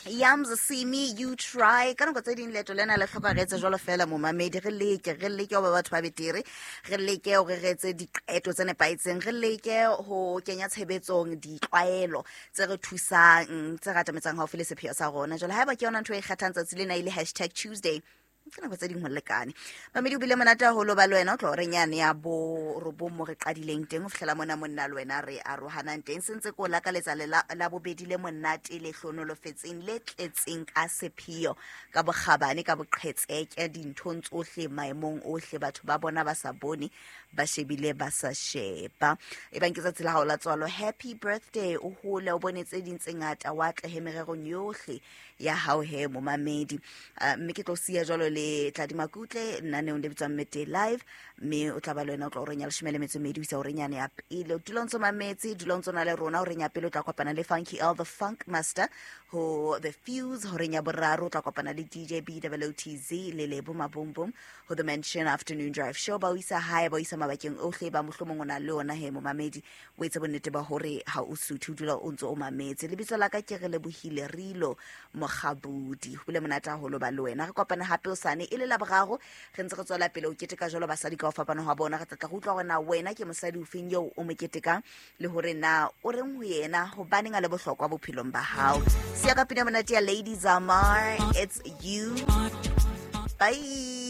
Yams see me you try. Ka nako tse ding leeto lena le hloka re etse jwalo fela, momamedi. Re leke ho ba batho ba betere, re leke hore re etse diqeto tse nepahetseng, re leke ho kenya tshebetsong ditlwaelo tse re thusang, tse re atametsang haufi le sepheo sa rona. Jwale haeba ke yona ntho e kgethang tsatsi lena e le #Tuesday, ke nako tse ding ho lekane. Mamedi, o bile monate haholo ba le wena o tlo horeng yane ya bo robong mo re qadileng teng ho fihlela mona monna le wena re arohanang teng. Se ntse ko lakaletsa le la bobedi le monate, le hlonolofetseng, le tletseng ka sepheo, ka bokgabane, ka boqhetseke dinthong tsohle, maemong ohle, batho ba bona ba sa bone, ba shebile ba sa sheba. E bang ke tsatsi la hao la tswalo, happy birthday, o hole, o bone tse ding tse ngata, wa atlehe mererong yohle ya hao he, momamedi. Mme ke tlo siya jwalo le Tladi Makutle naneong le bitswang Midday Live, mme o tla ba le wena o tla horeng ya 12 ho isa horeng yane ya pele. O dula o ntso mametse, dula o ntso na le rona. Horeng ya pele o tla kopana le Funky L the Funk Master ho The Fuse. Horeng ya boraro o tla kopana le DJ Bwotz le Lebo Mabombom ho The Mansion Afternoon Drive Show. Ba o isa hae, ba o isa mabakeng ohle ba mohlomong o na le ona he, momamedi. O etse bonnete ba hore ha o suthe, o dula o ntse o mametse. Lebitso la ka ke re Lebohile Rilo Mogabudi. Ho bile monate haholo ba le wena. Re kopane hape osane e le la boraro, re ntse re tswela pele ho keteka jwalo basadi ka ho fapana hwa bona. Re tla tla re utlwa hore na wena ke mosadi ofeng eo o mo ketekang, le hore na o reng ho yena, hobaneng a le bohlokwa bophelong ba hao. Siya ka pina monate ya Lady Zamar, "It's You". Bye.